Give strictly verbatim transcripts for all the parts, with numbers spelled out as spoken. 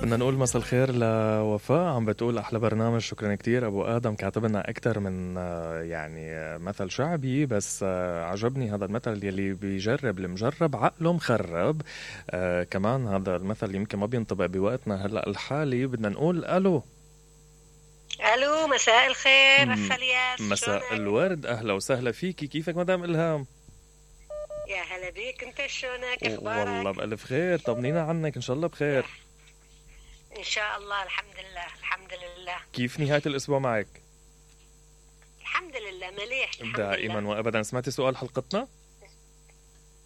بدنا نقول مساء الخير لوفاء، عم بتقول أحلى برنامج، شكرا كتير. أبو آدم كاتب لنا أكتر من آه، يعني آه، مثل شعبي، بس آه، عجبني هذا المثل يلي بيجرب المجرب عقله مخرب. آه، كمان هذا المثل يمكن ما بينطبق بوقتنا هلأ الحالي. بدنا نقول ألو. الو مساء الخير م- اخ الياس، مساء شلونك؟ الورد، أهلا وسهلا فيكي. كيفك مدام إلهام؟ يا هلا بيك، انت شلونك؟ والله اخبارك؟ بألف خير، طمنينا عنك، إن شاء الله بخير. ان شاء الله، الحمد لله الحمد لله كيف نهاية الأسبوع معك؟ الحمد لله مليح الحمد دائما لله. وأبدا. سمعتي سؤال حلقتنا؟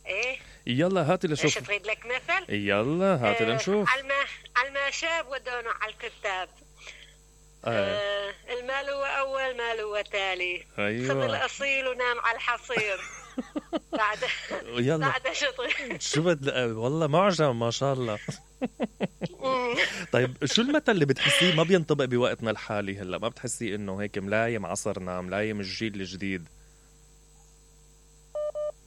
ايه يلا هاتي ايش لشوف. تريد لك مثل؟ يلا هاتي آه لنشوف. على الما على الماشاب ودونه على الكتاب. آه. آه المال هو اول مال هو تالي. خذ أيوة. الاصيل ونام على الحصير. بعد يلا بعد شطر. شو بد والله معجم ما شاء الله. طيب شو المثل اللي بتحسيه ما بينطبق بوقتنا الحالي هلا؟ ما بتحسيه انه هيك ملايم عصرنا، ملايم الجيل الجديد؟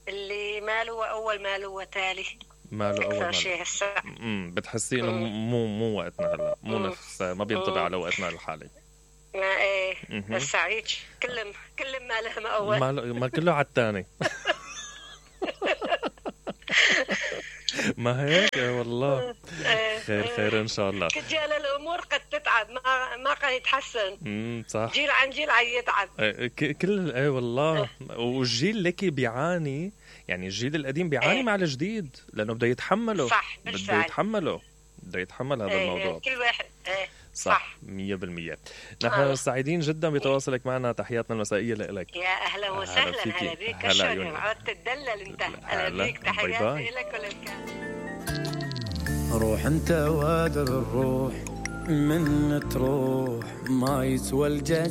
اللي مال هو اول مال هو تالي. ماله اول اكثر مال. شيء هسه. امم بتحسيه انه مم. مو مو وقتنا هلا، مو مم. نفس، ما بينطبق مم. على وقتنا الحالي. ما ايه مهم. هسه هيك كلهم كلهم ما لهم اول. ما ما كله على الثاني. ما هيك والله. إيه، خير إيه. خير ان شاء الله. رجال الامور قد تتعب، ما ما قد يتحسن. امم صح. جيل عن جيل عم يتعب. إيه، ك- كل ايه والله. والجيل لكي بيعاني، يعني الجيل القديم بيعاني إيه. مع الجديد لانه بده يتحمله. صح بده بالفعل. يتحمله، بده يتحمل هذا إيه، الموضوع. إيه، كل واحد إيه. صح مية بالمية. نحن آه. سعيدين جدا بتواصلك معنا، تحياتنا المسائية لك. يا اهلا وسهلا، فيكي. هلا بيك. هلا شلونك؟ عيوني. عودت تدلل انت. هلا. هلا بيك، باي باي. تحياتي لك وللكل. روح انت وادر الروح من تروح، ما يسوى الجزاء.